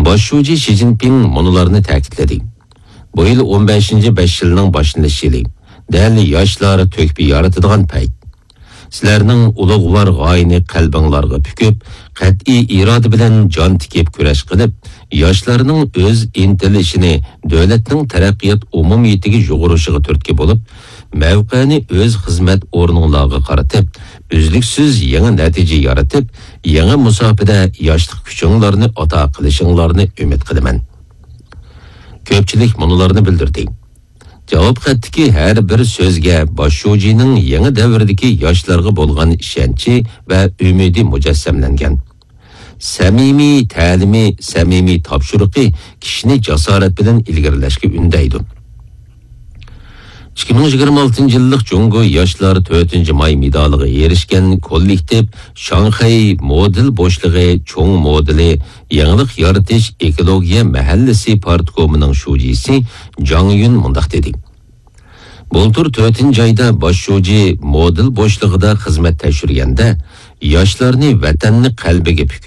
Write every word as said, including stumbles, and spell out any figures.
باش شۇجى شى جىنپىڭ مۇنۇلارنى تەكىتلىدى: بۇ يىل ئون بەشىنچى بەش يىلنىڭ باشلىنىش يىلى، دەل ياشلار تۆھپە يارىتىدىغان پەيت. سىلەرنىڭ ئۇلۇغۋار غايىنى قەلبىڭلارغا پۈكۈپ، قەتئىي ئىرادە بىلەن جان تىكىپ كۈرەش قىلىپ، ياشلارنىڭ ئۆز ئىنتىلىشىنى دۆلەتنىڭ تەرەققىيات ئومۇمىيىتىگە يۇغۇرۇشىغا تۈرتكە بولۇپ، مەۋقەنى ئۆز خىزمەت ئورنۇڭلارغا قارىتىپ، ئۈزلۈكسىز يېڭى نەتىجە يارىتىپ، يېڭى مۇساپىدە ياشلىق كۈچۈڭلارنى ئاتا قىلىشىڭلارنى ئۈمىد قىلىمەن. كۆپچىلىك مۇنۇلارنى بىلدۈردى. جاۋاب خەتتىكى ھەر بىر سۆزگە باش شۇجىنىڭ يېڭى دەۋردىكى ياشلارغا بولغان ئىشەنچى ۋە ئۈمىدى مۇجەسسەملەنگەن. سەمىمىي تەلىمى، سەمىمىي تاپشۇرۇقى كىشىنى جاسارەت بىلەن ئىلگىرىلەشكە ئۈندەيدۇ. ئىككى مىڭ يىگىرمە ئالتىنچى يىللىق جۇڭگو ياشلار تۆتىنچى ماي مېدالىغا ئېرىشكەن كوللېكتىپ شاڭخەي مودېل بوشلۇقى چوڭ مودېلى يېڭىلىق يارىتىش ئېكولوگىيە مەھەللىسى پارتكومىنىڭ شۇجىسى جاڭ يۈن مۇنداق دېدى: بۇلتۇر تۆتىنچى ئايدا باش شۇجى مودېل بوشلۇقىدا خىزمەت تەكشۈرگەندە، ياشلارنى ۋەتەننى قەلبىگە پۈكۈپ،